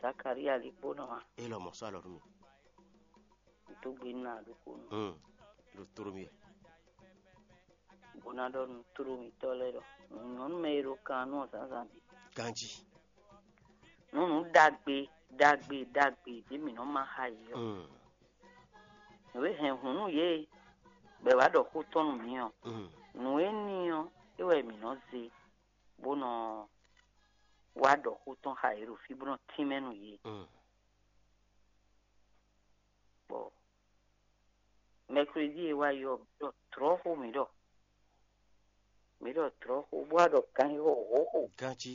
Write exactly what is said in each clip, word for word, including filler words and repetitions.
Zakaria lí kpó nɔ a? É lɔ mɔ̌ sɔ́ alɔ nú mì. Dó gbe nú aɖukúnu. Hmm. Ɖo tló mì wɛ. Bó ná ɖɔ nú tló mitɔ́ lɛ́ɛ ɖɔ nyɔ̌nu mɛ e ɖo kan nú ɔ́ zǎnzǎn bǐ. Ganjí. Nú nǔ ɖagbe ɖagbe ɖagbe ɖě mǐ nɔ má xa yi ɔ́, Hmm. nǔ e hɛn hǔn nú yě bɔ è wǎ ɖɔ xó tɔn nú mǐ ɔ́, Hmm. nǔ énɛ́ ɔ́ é wɛ mǐ nɔ zé bó nɔ wá ɖɔ xó tɔn xa yě ɖo fí bó nɔ tínmɛ nú yě. Hmm. Bɔ mɛkredi e wá yi ɔ́, mǐ ɖɔ tlɔ̌xó mǐ ɖɔ mǐ ɖɔ tlɔ̌xó bó wá ɖɔ ganxixo hǒxo. Ganjí.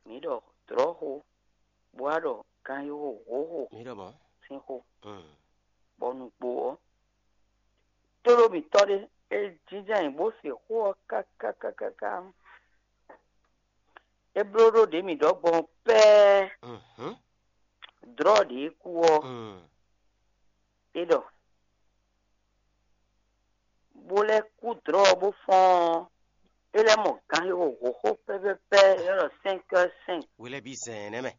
Mǐ ɖɔ tlɔ̌xó bó wá ɖɔ ganxixo hǒxo. Mǐ ɖɔ mɔ̌. Sín xó. Hmm. Bɔ nǔgbó ɔ́, tlóló mǐtɔn ɖé é jínjɔ́n ayǐ bó se xó ɔ́ káká káká káká. É bló ɖó ɖě mǐ ɖɔ gbɔn pɛ́ɛ. Mhm. Dlɔ̌ ɖě kú ɔ́, Mm. é ɖɔ bó lɛ́ kú dlɔ̌ ɔ́ bó fɔ́n ɔ́, é lɛ́ mɔ ganxixo hǒxo pɛ́pɛ́pɛ́ é ɖɔ cinq heures cinq. Hwe lɛ́ɛ bǐ zɛ̌n nɛ́ mɛ.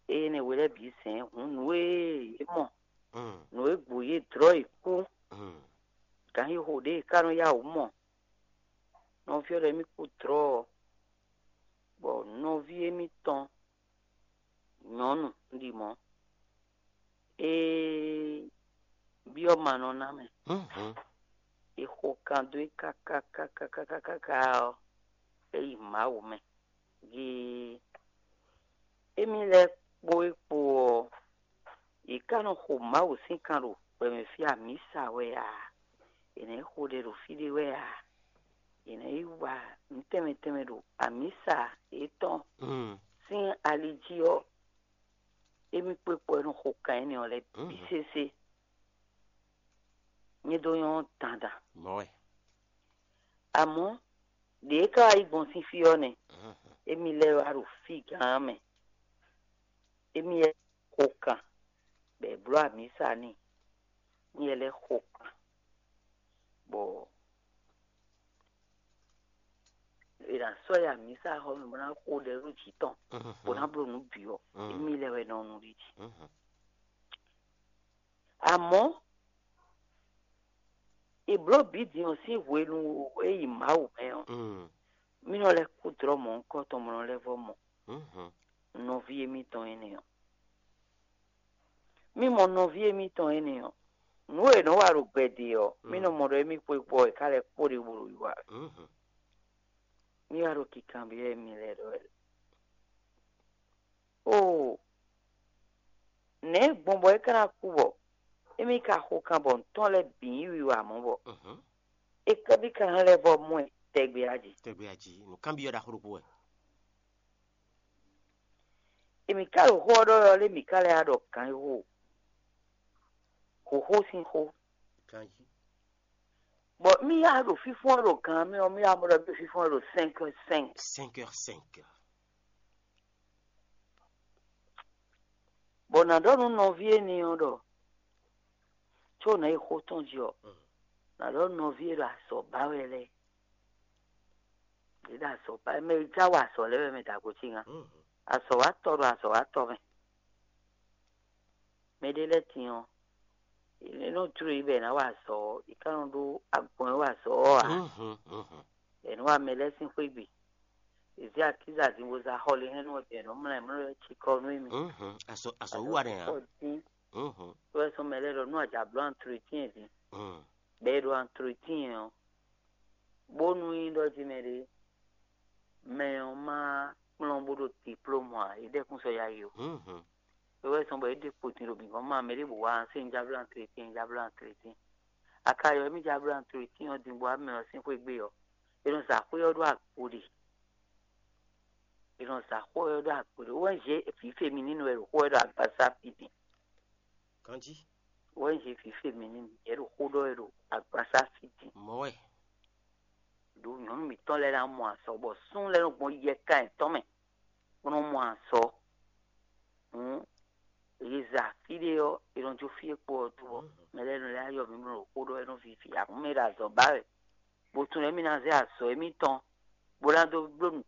Eye nɛ hwe lɛ́ɛ bǐ zɛ̌n hǔn nǔ e yě mɔ, Mm. nǔ e gbo yě dlɔ̌ yě kú, Mm. ganxixo ɖě è ká nɔ yá wǔ mɔ. Nɔví ɔ́ ɖɔ émí kú dlɔ̌ ɔ́, bɔ nɔví émítɔn nyɔ̌nu un ɖi mɔ̌, é byɔ́ ma nɔ ná mɛ. Mhm. È xo kan dó é káká káká káká káká ɔ́, é yi Mawu mɛ. Gee émí lɛ́ɛ kpó é kpo ɔ́, yě ká nɔ xo Mawu sín kan ɖo gbɛmɛ fí amǐsa wɛ ǎ; è nǎ yi xo ɖɛ ɖo fí ɖé wɛ ǎ; è nǎ yi wa nǔ tɛnmɛ tɛnmɛ ɖo amǐsa yětɔn Mm. sín ali jí ɔ́, émí kpó é kpo wɛ nɔ xo kan énɛ́ ɔ́ lɛ́ɛ bǐ Mhm. sésé. Nyɛ dó nyɔ́ dandan. Mɔ̌ wɛ. Amɔ̌, ɖě é ka wá yi gbɔn sín fí ɔ́ nɛ́, Mhm. émí lɛ́ɛ wá ɖo fí gǎn mɛ. Émí lɛ́ɛ xo kan, bɔ è blǒ amǐsa n'i. Émí lɛ́ɛ xo kan, bɔ è nǎ sɔ́ yi amǐsa xɔ mɛ bó ná xo ɖɛ ɖó jǐ tɔn, Mhm. bó ná bló nǔ bǐ ɔ́, Mm. émí lɛ́ɛ wɛ nɔ nu ɖ'é jí. Mhm. Amɔ̌, è blǒ bǐ din ɔ́ sín hwenu e yi Mawu mɛ ɔ́, Mm. mí nɔ lɛ́ kú dlɔ́ mɔ̌hunkɔtɔn, mɔ nɔ lɛ́ vɔ́ mɔ Mhm. nɔví émítɔn énɛ́ ɔ́. Mí mɔ nɔví émítɔn énɛ́ ɔ́, nǔ e è nɔ́ wa ɖo gbɛɖe ɔ́, mí nɔ Mm. mɔ ɖɔ émí kpó é kpó ɔ́, è ká lɛ́ kpó ɖě bó ɖo yi wa wɛ. Mhm. Mí wá ɖo kikanbyɔ́ émí lɛ́ɛ ɖɔ wɛ. Oo, nɛ̌ gbɔn bɔ é ka ná kú bɔ émí ka xo kan bɔ nǔ tɔn lɛ́ɛ bǐ nyí wiwa mɔ̌ bɔ Mhm. é ká bí ka hɛn lɛ́ vɔ mɔ ɛ tɛgbɛ a jí? Tɛgbɛ a jí, nǔkanbyɔ́ ɖaxó ɖokpó wɛ. Èmí ka ɖo xó ɔ́ ɖɔ wɛ ɔ́ lé mǐ ka lɛ́ wá ɖɔ gǎn e xo xǒxó sín xó. Ganjí. Bɔ mí ya ɖo fífɔ́n ɖo gǎn mɛ ɔ́, mí ya mɔ ɖɔ mí ɖo fífɔ́n ɖo cinq heures cinq. Cinq heures cinq. Bɔ nǎ ɖɔ nú nɔví énɛ́ ɔ́ ɖɔ có nǎ yi xó tɔn jí ɔ́, Mm. nǎ ɖɔ nɔví e ɖo azɔ̌ ba wɛ lɛ́ɛ. Yě ɖo azɔ̌ ba mɛ e já wa azɔ̌ lɛ́ɛ wɛ mɛ dǎgbó cígan. Mm. Azɔ̌watɔ́ ɖo azɔ̌watɔ́ mɛ. Mɛ ɖé lɛ́ɛ din ɔ́, è nɔ jló yě bɔ è nǎ wa azɔ̌ ɔ́, è ka nɔ ɖó agbɔn e wa azɔ̌ ɔ́ ǎ. Mhm, mhm. È nɔ wa mɛ lɛ́ɛ sín xwé gbe. È zě akíza din bó zá xɔ lé hɛn nú ɔ́ din, è nɔ mlá ɛ mlɔ́ ɛ cikɔ nú émí. Mhm. Azɔ̌ azɔ̌ wíwa nɛ́ ǎ. Kɔ dín, Mhm. é wɛ sɔ́ mɛ lɛ́ɛ ɖɔ nú a jǎ bló antretien din, Mm. bɔ è ɖo antretien ɔ́, bónú nyí ɖɔ jí mɛ ɖé, mɛ ɔ́ má kplɔ́n bó ɖo diplôme ǎ, é ɖɛkún sɔ́ yá yi o. Mhm. É wɛ zɔ́n bɔ é ɖe kpo din ɖo bǐ gɔ́n ma mɛ ɖěbǔ wá ɔ́, sɛ́n jábló antretien, jábló antretien. A ka ylɔ́ émí jábló antretien ɔ́ din bɔ wá mɛ ɔ́ sín xwé gbe ɔ́, é nɔ zǎn xwé ɔ́ ɖó agbo ɖe. È nɔ zǎn xó ɔ́ ɖó agbo ɖé. Wɛ́n zé vǐ féminínu wɛ ɖo xó ɔ́ ɖo agbasá fí din. Ganjí. Wɛ́n zé vǐ féminínu yɛ ɖo xó ɖɔ wɛ ɖo agbasá fí din. Mɔ̌ wɛ. Ɖo nyɔ̌nu mǐtɔn lɛ́ɛ ná mɔ azɔ̌, bɔ súnnu lɛ́ɛ nɔ gbɔn yɛkan yětɔn mɛ, bó nɔ mɔ azɔ̌. Hǔn è za fí ɖé ɔ́, è nɔ jó fí e kpo ɔ́ dó ɔ́, mɛ lɛ́ɛ nɔ lɛ́ ayɔ mǐmlɔ ɖo xó ɖɔ wɛ nɔ vivi, amɔ̌ mɛ e ɖo azɔ̌ ba wɛ, bó tunwun émí ná zé azɔ̌ émítɔn, bó ná dó bló nǔ